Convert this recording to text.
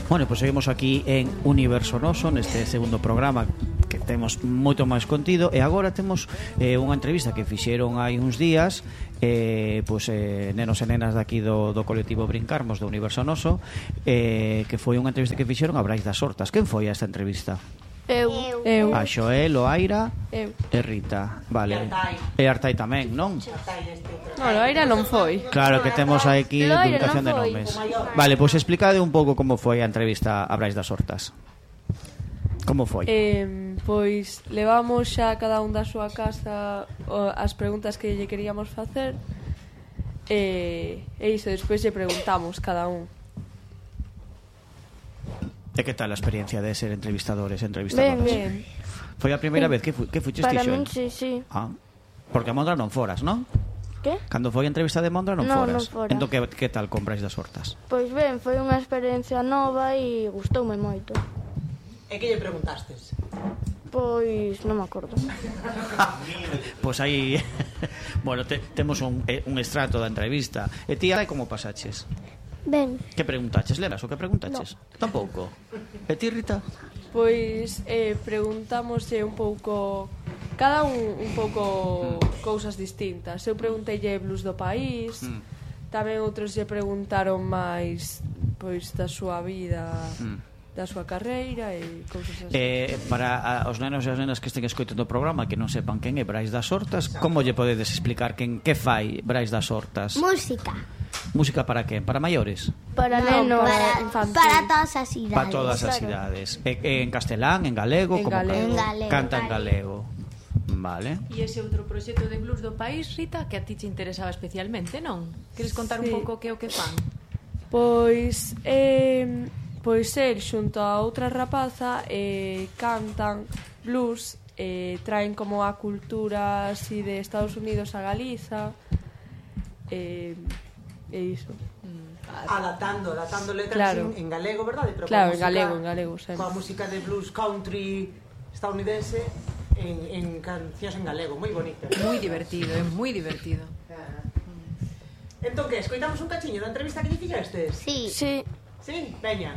Bueno, pois seguimos aquí en Universo Noso neste segundo programa que temos moito máis contido e agora temos unha entrevista que fixeron hai uns días nenos e nenas daqui do colectivo Brincarmos do Universo Noso que foi unha entrevista que fixeron a Brais das Hortas. Quen foi a esta entrevista? Eu. A Xoel, o Aira Eu. e Rita. Vale. E Artai tamén, non? Non, o Aira non foi. Claro que temos aquí Loira duplicación de non foi. nomes. Vale, pois explicade un pouco como foi a entrevista a Brais das Hortas. Como foi? Pois levamos xa cada un da súa casa as preguntas que lle queríamos facer e iso, despois lle preguntamos cada un. E que tal a experiencia de ser entrevistadores, entrevistadoras? Ben. Foi a primeira vez que fuches Para ti, min, Xoel? sí. Ah, porque a Mondra non foras, non? Que? Cando foi a entrevista de Mondra non Non, foras. non fora. Entón que tal con Brais das Hortas? Pois ben, foi unha experiencia nova e gustoume moito. E que lle preguntastes? Pois non me acordo. Pois aí bueno, temos un extracto da entrevista. E ti, como pasaches? Ben, Que preguntaches? Lembras o que preguntaches? Tampouco. E ti, Rita? Pois preguntámoslle un pouco cada un pouco cousas distintas. Eu pregunteille blues do país, tamén outros lle preguntaron máis pois da súa vida, da súa carreira e cousas así. Para os nenos e as nenas que estén escoitando o programa que non sepan quen é Brais das Hortas, como lle podedes explicar que fai Brais das Hortas? Música. Música para quen? Para maiores? para Non, nenos. Para todas as idades. Para todas as idades. En castelán, en galego? En Como galego. En galego. Canta en galego. Vale. E ese outro proxecto de blues do país, Rita, que a ti te interesaba especialmente, non? Queres contar un Sí. pouco que é o que fan? Pois el xunto a outra rapaza cantan blues, traen como a cultura así de Estados Unidos a Galiza e iso. Adaptando letras Claro. en galego, verdade? Pero Claro, coa en galego sempre. Coa música de blues country estadounidense en cancións en galego, moi bonito. Moi divertido, é moi divertido. Entón, que, escoitamos un cachiño da entrevista que lle fixestes? Sí. Sí. Sí? Veña.